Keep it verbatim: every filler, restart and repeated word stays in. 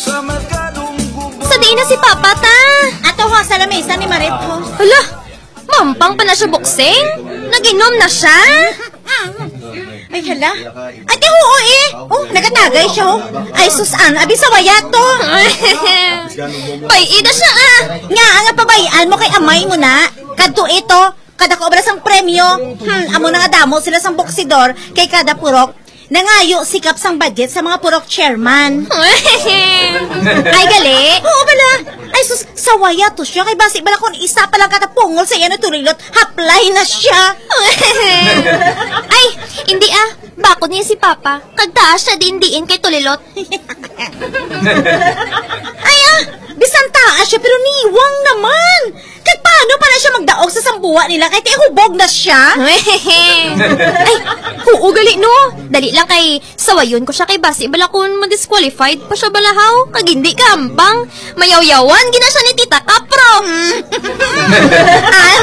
Sa diin na si Papa, ta? Ato ho, sa lamesa ni Marit ho. Hala, mampang pa na siya boksing? Nag-inom na siya? Ay, hala. Ay, di, oo eh. Oh, nagatagay siya, oh. Ay, sus, ang abi sa waya to. Bay-i na siya, ah. Nga, ang pabayaan mo kay amay mo na. Kadto ito, kada kaubra sang premyo. Hmm, amo na nga damo sila sang boksidor kay kada purok. Nangayo sikap sang budget sa mga purok chairman. Ay, gali. Oo, bala. Ay, sus, sa waya to siya. Kay basi bala kung isa pa lang katapungol sa iya na tulilot, haplay na siya. Ay, hindi ah. Bakod niya si Papa. Kag taas siya din diin kay tulilot. Ay, ah, bisan taas siya, pero niwang naman. Kag paano pa na siya magdaog sa sambuwa nila kay tihubog na siya? Ay, oo gali, no? Dali lang kay sawayon ko siya kay basi bala kung ma-disqualified pa siya balahaw. Kag hindi kampang. Mayawyawan gina siya ni Tita Kapro. An?